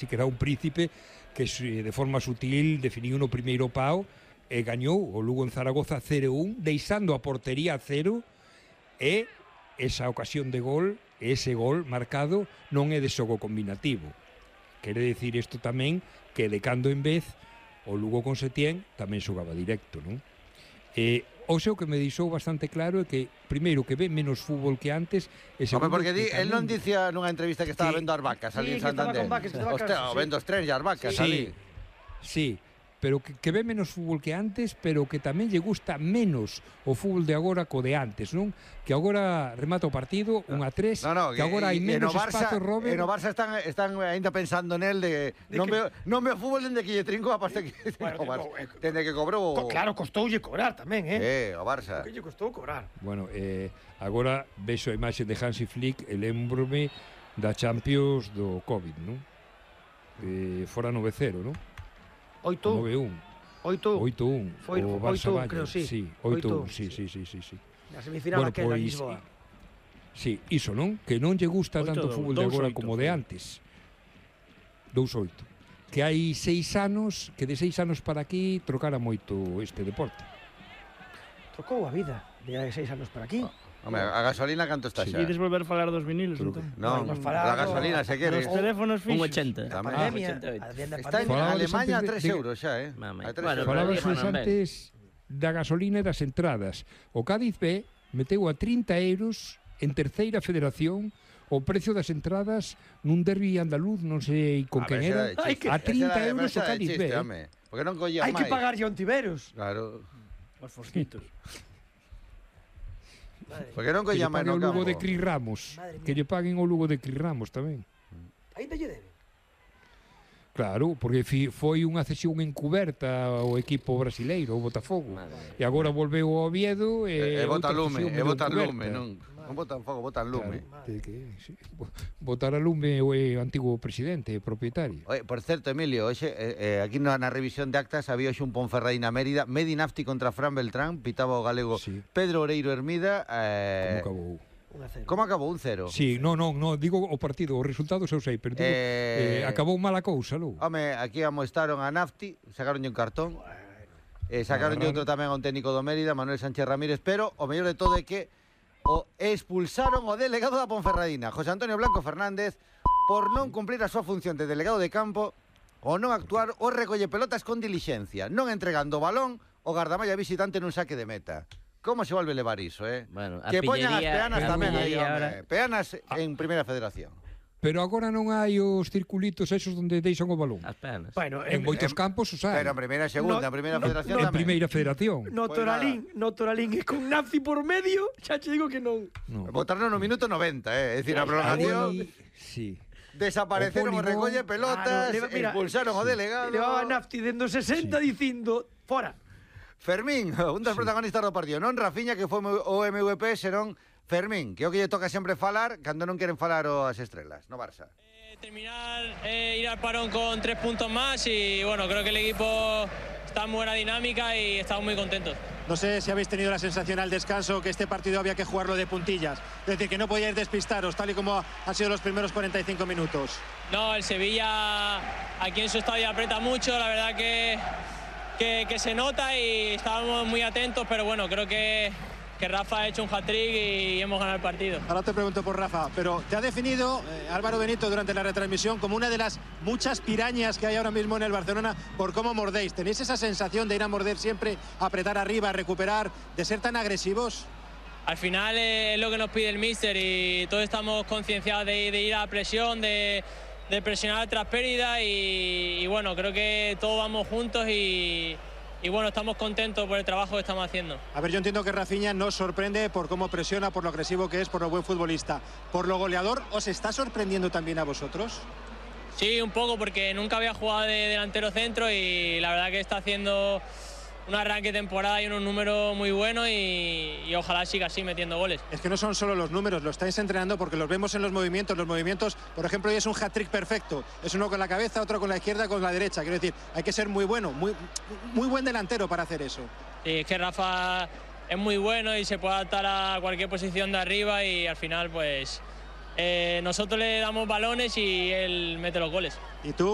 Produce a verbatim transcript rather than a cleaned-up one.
Si que era un príncipe que de forma sutil definiu no primeiro pau e gañou o Lugo en Zaragoza cero un, deixando a portería a cero, e esa ocasión de gol, ese gol marcado, non é de xogo combinativo. Quere dicir isto tamén que de cando en vez o Lugo con Setién tamén xogaba directo, non? E o seu que me deixou bastante claro é que primeiro que ve menos fútbol que antes e segundo, porque di, el non dicía nunha entrevista que estaba sí. vendo as vacas ali sí, en Santander. Hostia, sí. vendo os trens e as vacas sí. ali. Sí, pero que, que ve menos fútbol que antes, pero que tamén lle gusta menos o fútbol de agora co de antes, non? Que agora remata o partido un a tres, no, no, que agora hai menos espazo, Robert. E no Barça están, están ainda pensando nel de, de non, que... veo, non veo fútbol dende que lle trinco a pasta que bueno, no, eh, dende que cobrou. Co, claro, costoulle cobrar tamén, eh. Eh, o Barça. Que lle costou cobrar. Bueno, eh, agora vexo a imaxe de Hansi Flick e lembrome da Champions do Covid, non? Eh, fora nove cero, non? oito un. nove un. oito un. Foi o Barça oito un, creo, sí. Sí, oito un, sí, sí, sí, sí, sí. Na semifinal bueno, aquela pois, Lisboa. Sí, iso, non? Que non lle gusta tanto o fútbol de agora como de antes. dous oito. Que hai seis anos, que de seis anos para aquí trocara moito este deporte. Trocou a vida de hai seis anos para aquí. Oh. Home, a gasolina canto está xa? Si queres volver a falar dos vinilos, entón? Non, a gasolina se quere. Os teléfonos fixos. un ochenta. A pandemia. Está en Alemania a tres euros xa, eh? Falabas antes da gasolina e das entradas. O Cádiz B meteu a trinta euros en terceira federación o precio das entradas nun derbi andaluz, non sei con quen era, a trinta euros o Cádiz B. Porque non collía máis. Hai que pagar a Ontiveros. Claro. Os fosquitos. Porque non collía máis no campo. Que lle paguen o Lugo de Cris Ramos. Que lle paguen o Lugo de Cris Ramos tamén. Ainda lle debe. Claro, porque foi unha cesión encuberta ao equipo brasileiro, o Botafogo. E agora volveu ao Oviedo e... E bota lume, e bota lume, non? Non botan fogo, botan lume. Claro, que, sí. Botar a lume o antigo presidente, propietario. Oye, por certo, Emilio, oxe, eh, eh, aquí na, na revisión de actas había hoxe un Ponferradina Mérida, Medinafti contra Fran Beltrán, pitaba o galego sí. Pedro Oreiro Hermida. Eh, Como acabou? Como acabou? Un cero? Sí, non, non, no, digo o partido, os resultados eu sei, pero digo, eh, eh, acabou mala cousa, logo. Home, aquí amoestaron a Nafti, sacaronlle un cartón, eh, sacaronlle outro tamén a un técnico do Mérida, Manuel Sánchez Ramírez, pero o mellor de todo é que o expulsaron o delegado da Ponferradina, José Antonio Blanco Fernández, por non cumprir a súa función de delegado de campo ou non actuar o recolle pelotas con dilixencia, non entregando o balón o gardamalla visitante nun saque de meta. Como se volve levar iso, eh? Bueno, que poñan as peanas tamén aí, ahora... peanas en Primeira Federación. Pero agora non hai os circulitos esos onde deixan o balón. As peanas. Bueno, en, en moitos en, campos os hai. Pero en primeira e segunda, no, en primeira no, federación no, tamén. En primeira federación. No pues Toralín, nada. no Toralín e con Nazi por medio, xa che digo que non. No. Botaron no minuto noventa, eh, é dicir, a prolongación. Sí. Desapareceron o recolle pelotas, claro, mira, expulsaron sí. o delegado. Levaba Nafti dendo sesenta sí. dicindo, fora. Fermín, un dos sí. protagonistas do partido, non Rafiña que foi o M V P, senón Fermín, que é o que lle toca sempre falar cando non queren falar as estrelas, no Barça. Terminar, eh, ir al parón con tres puntos más y bueno, creo que el equipo está en buena dinámica y estamos muy contentos. No sé si habéis tenido la sensación al descanso que este partido había que jugarlo de puntillas, es decir, que no podíais despistaros tal y como han sido los primeros cuarenta y cinco minutos. No, el Sevilla aquí en su estadio aprieta mucho, la verdad que, que, que se nota y estábamos muy atentos, pero bueno, creo que... que Rafa ha hecho un hat-trick y hemos ganado el partido. Ahora te pregunto por Rafa, pero te ha definido eh, Álvaro Benito durante la retransmisión como una de las muchas pirañas que hay ahora mismo en el Barcelona por cómo mordéis. ¿Tenéis esa sensación de ir a morder siempre, apretar arriba, recuperar, de ser tan agresivos? Al final eh, es lo que nos pide el míster y todos estamos concienciados de, de ir a la presión, de, de presionar tras pérdida y, y bueno, creo que todos vamos juntos y... Y bueno, estamos contentos por el trabajo que estamos haciendo. A ver, yo entiendo que Rafiña nos sorprende por cómo presiona, por lo agresivo que es, por lo buen futbolista. ¿Por lo goleador os está sorprendiendo también a vosotros? Sí, un poco, porque nunca había jugado de delantero centro y la verdad que está haciendo un arranque de temporada y unos números muy buenos y, y ojalá siga así metiendo goles. Es que no son solo los números, lo estáis entrenando porque los vemos en los movimientos. Los movimientos, por ejemplo, hoy es un hat-trick perfecto. Es uno con la cabeza, otro con la izquierda, con la derecha. Quiero decir, hay que ser muy bueno, muy, muy buen delantero para hacer eso. Sí, es que Rafa es muy bueno y se puede adaptar a cualquier posición de arriba y al final, pues, eh, nosotros le damos balones y él mete los goles. ¿Y tú?